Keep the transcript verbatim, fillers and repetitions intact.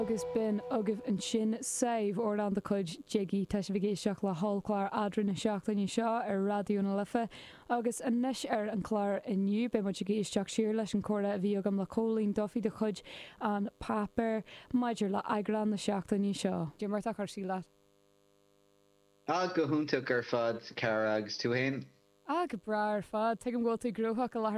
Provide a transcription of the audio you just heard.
Agus b'in agaibh ansin Sadhbh amhrán de chuid Jiggy tá sibh ag éisteacht le hollchlár eadra na seachtaine seo ar Raidió na Life agus anois ar an chlár inniu beidh muid ag éisteacht siar leis an chomhrá a bhí agam le Cóilín Duffy de chuid An Páipéar maidir le eagrán na seachtaine seo. Cad é mar atá cúrsaí leat? Ah go hiontach ar fad cara agus tú féin? Ah go breá ar fad, Tuigim go bhfuil tú gnóthach i láthair